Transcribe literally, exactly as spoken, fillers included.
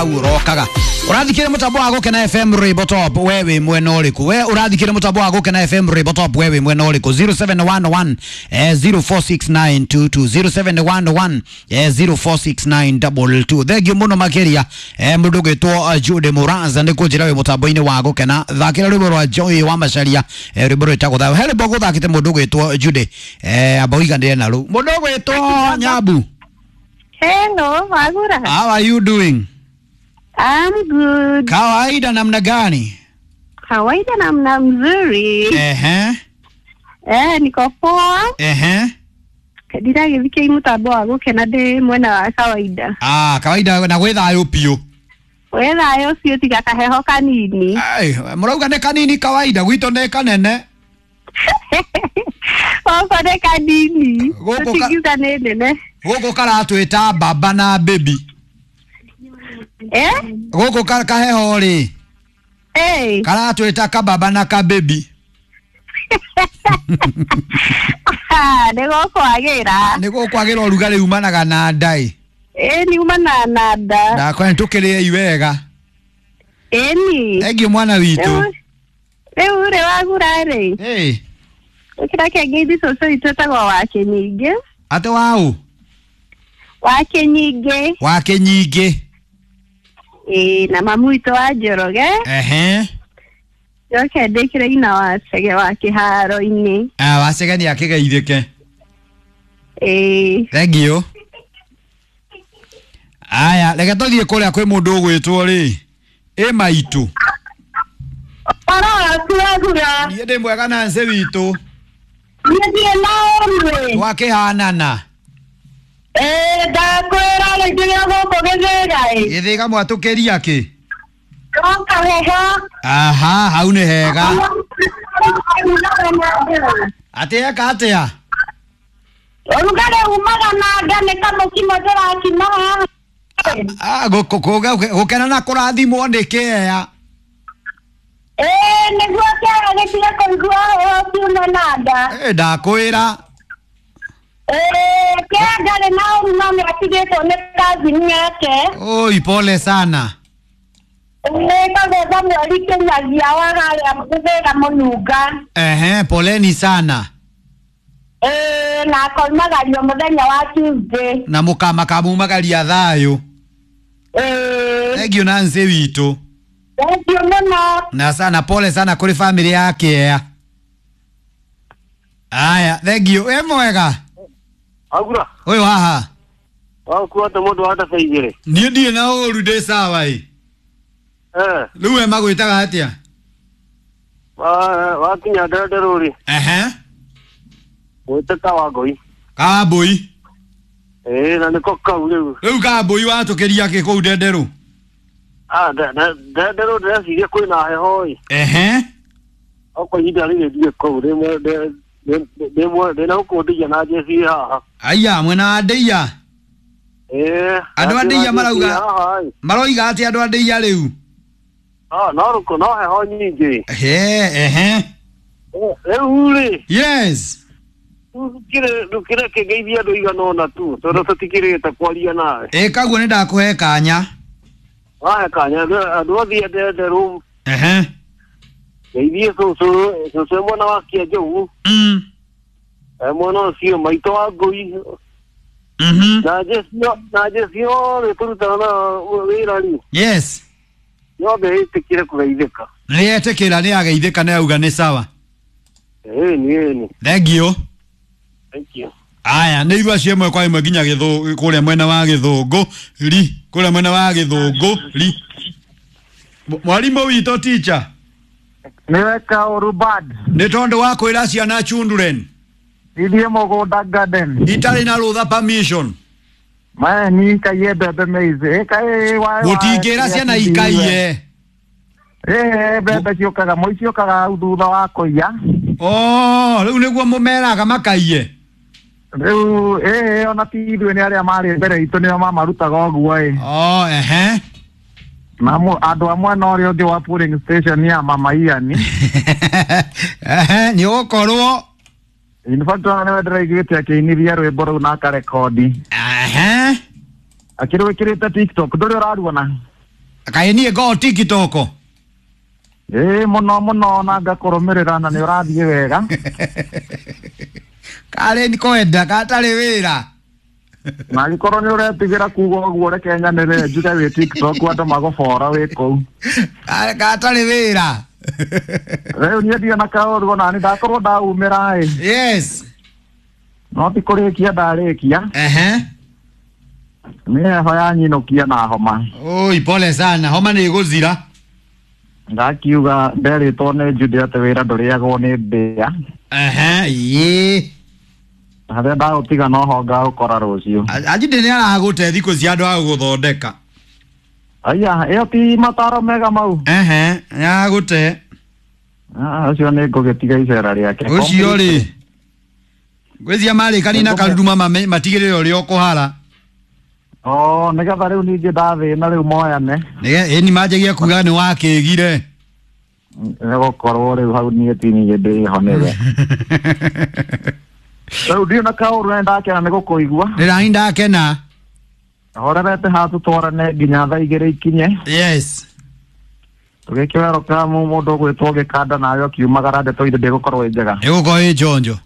Urokaga urathikire mutambo wa Gukena F M Rainbow Top, we wi mwena uriku? We urathikire mutambo wa Gukena F M Rainbow Top, we wi mwena uriku? zero seven one one eh, zero four six nine two two zero seven one one eh, zero four six nine two two. Thengio muno makiria eh, mundu gwitwo Jude Muranza ni kunjira wi mutambo-ini wa Gukena. Thakira rwimbo rwa Joy wa Macharia, eh, rwimbo rwitagwo thayo. He rwimbo guthakite mundu gwitwo Jude, eh, amba uiganire na ru mundu gwitwo Nyabu. Hello, Wagura. How are you doing? I'm good. Kawaida namna gani? Kawaida namna mzuri. Ehe. Eh, niko poa. Ehe. Ndiragĩthikia mũtambo wa Gukena ndĩ mwena wa kawaida. Ah, kawaida na gwĩ thayũ biũ. Gwĩ thayũ biũ tiga kaheho kanini. Ai, mũrauga nĩ kanini kawaida, gwitũ nĩ kanene. Gũkũ nĩ kanini. Gũkũ ka- Tũtingiuga nĩ nene. Gũkũ karatwĩta baba na baby. Eh? Gũkũ ka kaheho rĩ Eh. karatwĩta kababa na kabebi. Nĩ gũkwagĩra. Nĩ gũkwagĩra ũrugarĩ umanaga na ndaĩ. Ĩni umanaga na nda. Ndakwa nĩtũkĩrĩei wega. Ĩni. Thengiũ mwana witũ. Rĩu rĩ Wagura rĩ. Ĩ. Ĩkĩra kĩngeithi cũcũ witũ etagwo Wakĩnyingĩ. Atĩ waũ? Wakĩnyingĩ. Wakĩnyingĩ. Ĩĩ, na mamu witũ wa Njoroge. Ehe. Njoke ndĩkĩre ina wa Chege wa kĩharo-inĩ. Ah, wa Chege nĩ akĩgeithĩke. Ĩĩ. Thengiũ. Aya, reke tũthiĩ kũrĩa kwĩ mũndũ ũgwĩtwo rĩ. Ĩ maitũ. Ũhoro waku Wagura? Niĩ ndĩ mwega na nce witũ. Niĩ ndirĩ na ũmwe. Twakĩhanana. Ĩĩ, ndakwĩra rĩ nginya gũkũ Gĩthĩga ĩ. Gĩthĩga mwatũkĩria kĩ? No kaheho. Aha, hau nĩ hega. Atĩ eka atĩa? Ũrugarĩ umaga na nda nĩ kamũkimo ndĩrakima haha. Ah, gũkena na kũrathimwo nĩ kĩea. Ĩĩ, nĩguo kĩaga gĩtige kũigua heho kiume na nda. Ĩ, ndakwĩra. Ĩĩ, kĩea ndarĩ na ũru no nĩatigĩtwo nĩ kazini yake. Oi, pole sana. Ĩĩ, kagetha mweri kinyagia wa harĩa Gĩthĩga Mũnunga. Ehe, poleni sana. Ĩĩ, na akoimagario mũthenya wa Tuesday. Na mũkama kamumagaria thayũ. Ĩĩ. Thengiũ na nce witũ. Thengiũ mũno. Na sana pole sana kũrĩ family ya kĩea. Aya, thengiũ. Wĩ mwega? Agura. Ũyũ haha. Wakuata mũndũ wa ndaba igĩrĩ. Niĩ ndirĩ na ũru, ndĩ sawa ĩ. Eh. Rĩu we magwĩtaga atĩa? Wa wakinya Ndenderũ rĩ. Ehe. Gwĩte Kawangũi. Kawambũi. Ĩĩ, na nĩko kau rĩu. Rĩu Kawambũi watũkĩria kĩ kũu Ndenderũ? Ah, Ndenderũ ndĩreciria kwĩna heho ĩ. Ehe. Okorwo ihinda rĩrĩ ndirĩ kũu, ndĩna gũkũ Ndeiya na njeci haha. Aya, mwena wa Ndeiya. Ĩĩ. Andũ a Ndeiya marauga maroiga atĩa andũ a Ndeiya rĩu? Ah, no rũkũ no heho nyingĩ. Ehe, ehe. Rĩu rĩ. Yes. Ndũkĩrĩ kĩngeithia andũ igana ũna tu, tondũ tũtikĩrĩte kwaria nawe. Ĩ, kaguo nĩ ndakũhe kanya. Wahe kanya, andũ othe a Ndenderũ. Ehe. Ngeithie cũcũ, cũcũ e mwena wa Kĩanjũgũ. Mm. E mwena ũcio maitũ wa Ngũi. Mhm. Na njeci na njeci yothe tũrutaga na wĩra rĩ. Yes. Yothe ĩtĩkĩre kũgeithĩka. Nĩ etĩkĩra, nĩ ageithĩka, nĩ auga nĩ sawa. Ĩni, ĩni. Thengiũ. Thank you. Aya, nĩ irua cio ĩmwe kwa ĩmwe nginya gĩthũ kũrĩa mwena wa Gĩthũngũ ri, kũrĩa mwena wa Gĩthũngũ ri. Mwarimũ witũ teacher. Nĩwe kaũru bad. Nĩ tondũ wa kwĩra ciana children. Ithiĩ mũgũnda garden. Itarĩ na rũtha permission. Mae ni ikaiye mbembe maize. Ĩkai wa Gũtingĩra ciana ikaiye. Ĩĩ, mbembe ciũkaga, moi ciũkaga hau thutha wa kũiya. Oh, rĩu nĩguo mũmeraga makaiye. Rĩu ĩĩ, ona ti ithuĩ nĩ arĩa marĩ mbere itũ nĩo mamarutaga ũguo ĩ. Oh, ehe. Na andũ a mwena ũrĩa ũngĩ wa polling station ya Mama Ian. Ehe, nĩ ũgũkorwo. In fact, ona nĩwe ndĩraiguĩte akĩinithia rwĩmbo rũu na akarekodi. Ehe. Akĩrwĩkĩrĩte TikTok, ndũrĩ ũraruona? Kaĩ niĩ ngoo TikTok? Ĩĩ, mũno mũno, na ngakũrũmĩrĩra na nĩ ũrathiĩ wega. Karĩ nĩ kwenda gatarĩ wĩra. Na angĩkorwo nĩ ũretigĩra kuga ũguo, reke nyanĩrĩre njuge wĩ TikTok, andũ magũbora wĩ kũu. Ka- gatarĩ wĩra. Rĩu niĩ ndirĩ na kaũru, ona nĩ ndakorwo ndaumĩra ĩ. Yes. No ti kũrĩkia ndarĩkia. Ehe. Nĩ heho yanyinũkia na homa. Oi, pole sana, homa nĩ ĩgũthira. Ndakiuga nderĩtwo nĩ Jude atĩ wĩra ndũrĩagwo nĩ mbĩa. Ehe, ĩĩ. Harĩa ndaũtiga noho ngaũkora rũciũ. Ajinde nĩ aragũte thikũ cia andũ a gũgũthondeka. Aya, ĩyo ti mataro mega mau. Ehe, nĩ aragũte. Ah, ũcio nĩ ngũgĩtiga icera rĩake. Ũcio rĩ, ngwĩcia marĩkani na karuruma mame- matigĩrĩre ũrĩa ũkũhara. O nĩgetha rĩu ningĩ ndathĩna rĩu moyane. Nĩge- ĩni manjagia kuga nĩ wakĩgire. Nĩ gũkorwo rĩu hau niĩ ti niĩ ndĩho nĩwe. Rĩu ndirĩ na kaũru na ndakena nĩ gũkũigua. Ndĩrani ndakena. Horerete haha tũtwarane nginya thaa igĩrĩ ikinye. Yes. Tũgĩkĩwerũka mũndũ ũgwĩtwo gĩkanda nawe ũkiumagara, ndeto ithe ndĩgũkorwo ĩ njega. Ĩgũkorwo ĩ njonjo.